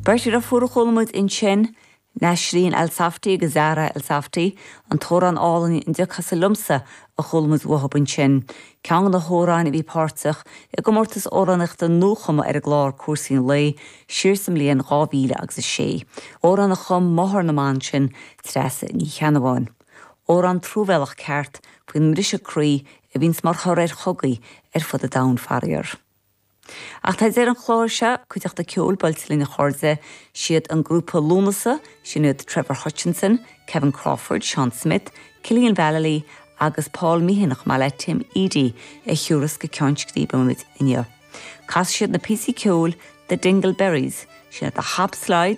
Beirt dheirfiúr a chuala muid ansin, Nasreen Elsafty agus Zahra Elsafty, an t-amhrán álainn An dTiocfathsa Liomsa a chuala muid uathub ansin, ceann de na hamhráin a bhí páirteach i gcomórtas amhránaíochta nuachumtha ar an gclár Cúrsaí an Lae siar sa mbliain 2000 agus 6. Amhrán a chum máthair na mban sin, Treasa Ní Cheannabháin. Amhrán truamhéalach ceart faoin mbriseadh croí a bhíonns mar thoradh ar chogaí ar fud an domhain faraor. Ach tá deireadh an chláir seo, cuideachta ceoil buailte linn a chairde, siad an grúpa Lúnasa, sin iad Trevor Hutchinson, Kevin Crawford, Seán Smith, Cillian Vallely agus Paul Meehan chomh maith le Tim Edey a thiúrfas go Ceann Scríbe muid inniu. Casfaidh siad na píosaí ceoil The Dingle Berries, sin iad The Hop Slide.